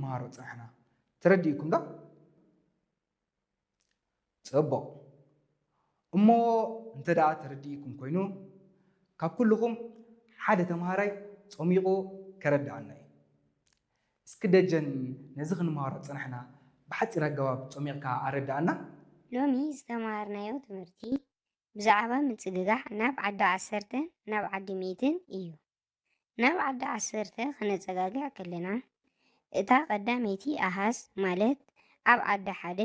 ተምሃሮ ጸናሕና። ተረዲእኩም ዶ? ጽቡቕ። እሞ እንተ ደኣ ተረዲእኩም ኮይኑ፣ ካብ ኩልኹም ሓደ ተምሃራይ ጾሚቑ ከረድኣና እዩ። እስኪ ደጀን፣ ነዚ ክንመሃሮ ጸናሕና ብሓጺር ኣገባብ ጾሚቕካ ኣረድኣና። ሎሚ ዝተምሃርናዮ ትምህርቲ ብዛዕባ ምጽግጋዕ ናብ ዓዲ ዓሰርተን ናብ ዓዲ ሚእትን እዩ። ናብ ዓዲ ዓሰርተ ክነጸጋግዕ ከለና፣ እታ ቀዳመይቲ ኣሃዝ ማለት ኣብ ዓዲ ሓደ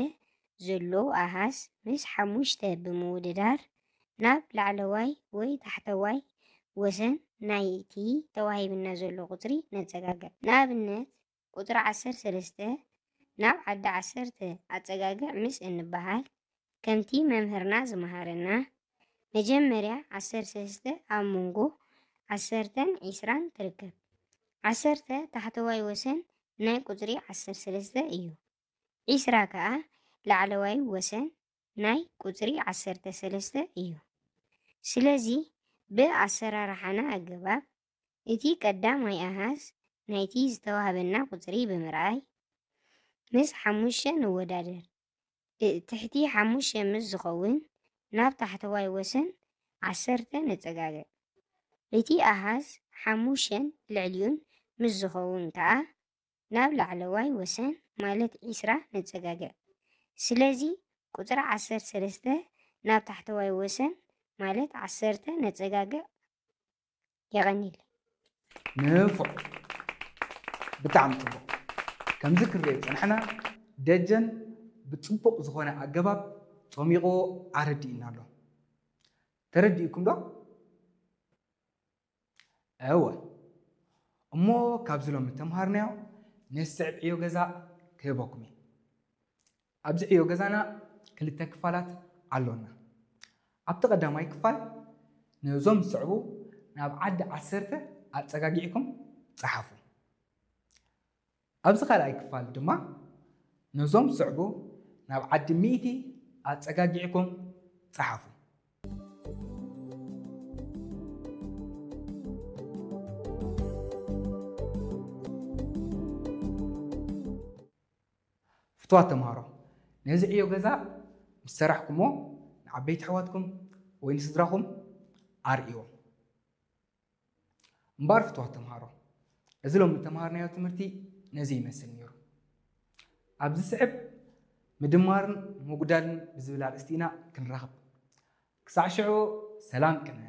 ዘሎ ኣሃዝ ምስ ሓሙሽተ ብምውድዳር ናብ ላዕለዋይ ወይ ታሕተዋይ ወሰን ናይቲ ተዋሂብና ዘሎ ቁጽሪ ነጸጋግዕ። ንኣብነት ቁጽሪ ዓሰርተ ሰለስተ ናብ ዓዲ ዓሰርተ ኣጸጋግዕ ምስ እንበሃል፣ ከምቲ መምህርና ዝመሃረና፣ መጀመርያ ዓሰርተ ሰለስተ ኣብ መንጎ ዓሰርተን ዒስራን ትርከብ። ዓሰርተ ታሕተዋይ ወሰን ናይ ቁጽሪ ዓሰርተ ሰለስተ እዩ። ዒስራ ከኣ ላዕለዋይ ወሰን ናይ ቁጽሪ ዓሰርተ ሰለስተ እዩ። ስለዚ ብኣሰራርሓና ኣገባብ እቲ ቀዳማይ ኣሃዝ ናይቲ ዝተዋህበና ቁጽሪ ብምርኣይ ምስ ሓሙሽተ ንወዳደር። እ- ትሕቲ ሓሙሽተ ምስ ዝኸውን ናብ ታሕተዋይ ወሰን ዓሰርተ ነጸጋግዕ። እቲ ኣሃዝ ሓሙሽተን ልዕሊኡን ምስ ዝኸውን ከኣ ናብ ላዕለዋይ ወሰን ማለት ዒስራ ነጸጋግዕ። ስለዚ ቁጽሪ ዓሰርተ ሰለስተ ናብ ታሕተዋይ ወሰን ማለት ዓሰርተ ነጸጋግዕ። የቐንየለይ። ንፉዕ። ብጣዕሚ ጽቡቕ። ከምዚ ክንሪኦ ዝጸናሕና ደጀን ብጽቡቕ ዝኾነ ኣገባብ ጾሚቑ ኣረዲእና ኣሎ። ተረዲእኩም ዶ? እወ። እሞ ካብዚ ሎሚ እተምሃርናዮ ነስዕብ ዕዮ ገዛ ክህበኩም እየ። ኣብዚ ዕዮ ገዛና ክልተ ክፋላት ኣሎና። ኣብቲ ቀዳማይ ክፋል ነዞም ዝስዕቡ ናብ ዓዲ ዓሰርተ ኣጸጋጊዕኩም ጸሓፉ። ኣብዚ ካልኣይ ክፋል ድማ ነዞም ዝስዕቡ ናብ ዓዲ ሚእቲ ኣጸጋጊዕኩም ጸሓፉ። ፍትዋት ተምሃሮ፣ ነዚ ዕዮ ገዛ ምስ ሰራሕኩሞ ንዓበይቲ ኣሕዋትኩም ወይ ንስድራኹም ኣርእይዎም። እምበኣር ፍትዋት ተምሃሮ፣ እዚ ሎሚ እተምሃርናዮ ትምህርቲ ነዚ ይመስል ነይሩ። ኣብ ዝስዕብ ምድማርን ምጉዳልን ብዝብል ኣርእስቲ ኢና ክንራኸብ። ክሳዕ ሽዑ ሰላም ቅነ።